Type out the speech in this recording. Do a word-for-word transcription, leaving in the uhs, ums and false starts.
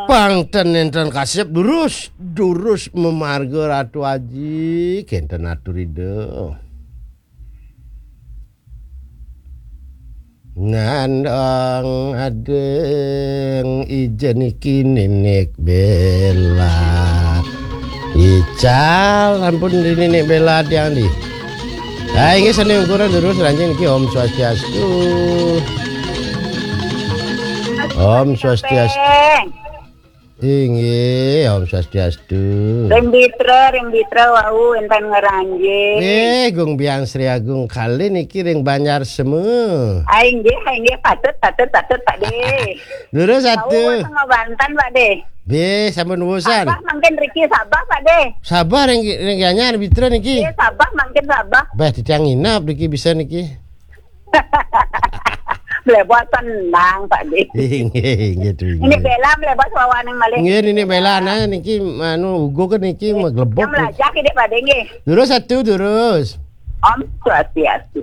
Pang ten nénten kasép durus, durus mamarga Ratu Aji, kénten atur Ida. Nandang adéng ija niki Ninik Béla. Ical, ampun di Ninik Béla tiang di. Ah, inggih sane ungkuran durus ranjing niki Om Swastiastu. Om Swastiastu. Inggih, Om Swastiastu. Ring Bitra, ring Bitra wau wénten ngranjing. Eh, Gung Biang Sri Agung kali niki ring Banjar Semu. Ah, inggih, ah, inggih, patut, patut, patut, Pak De. Durus Wau atu. Wénten ngabanten, Pak De. Nggih, sampun wusan. Sabah mangkin riki Sabah, Pak De. Sabah ring, ring Gianyar Bitra niki. Nggih, Sabah mangkin Sabah. Bah, titiang nginep niki bisa niki. Mlebos tenang, Pak De. Inggih, inggih, tu, Ninik inggih. Bela mlebos wawaning malih. Inggih, Ninik Bela, nah, niki, anu, ugu ke niki maglebok. Yang melajah ki, Pak De, nggih. Durus atu, durus. Om Swastiastu.